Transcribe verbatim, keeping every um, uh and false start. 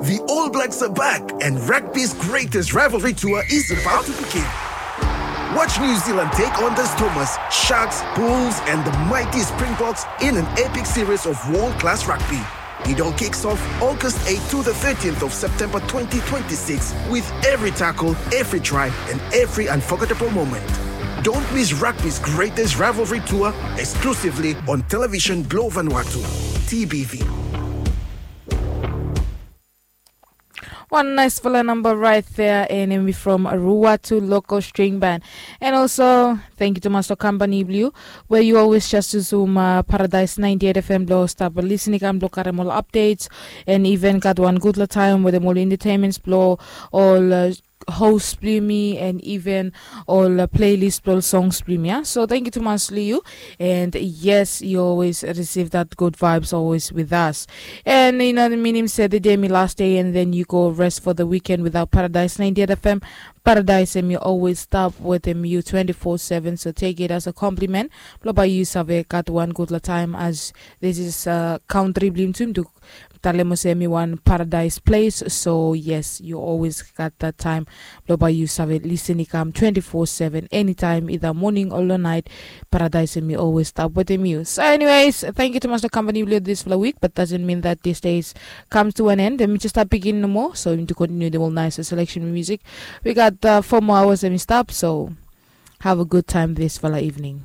The All Blacks are back, and rugby's greatest rivalry tour is about to begin. Watch New Zealand take on the Stormers, Sharks, Bulls, and the mighty Springboks in an epic series of world class rugby. It all kicks off August eighth to the thirteenth of September twenty twenty-six, with every tackle, every try, and every unforgettable moment. Don't miss rugby's greatest rivalry tour, exclusively on television Globe Vanuatu, T B V. One nice fala number right there, and we from Ruatu Local String Band. And also, thank you to Master Company Blue, where you always just zoom uh, Paradise ninety-eight F M blow stop listening and blow karem all updates, and even got one good la time with them all entertainments blow all uh, host blue me and even all uh, playlist blow songs blue me. Yeah? So thank you to Master Liu. And yes, you always receive that good vibes always with us. And you know the meaning said the day me last day, and then you go rest for the weekend without Paradise ninety-eight F M. Paradise and you always stop with them you twenty-four seven. So take it as a compliment. Blow by you save got one good la time as this is uh, country blim to talem ose mi wan paradise place. So yes, you always got that time. Blow by you save listening come twenty-four seven anytime, either morning or night. Paradise and me always stop with him you. So anyways, thank you to Master Company Blue this for the week, but doesn't mean that this days comes to an end. And we just start begin no more. So we need to continue the whole nice selection of music. We got uh, four more hours and we stop. So have a good time this for the evening.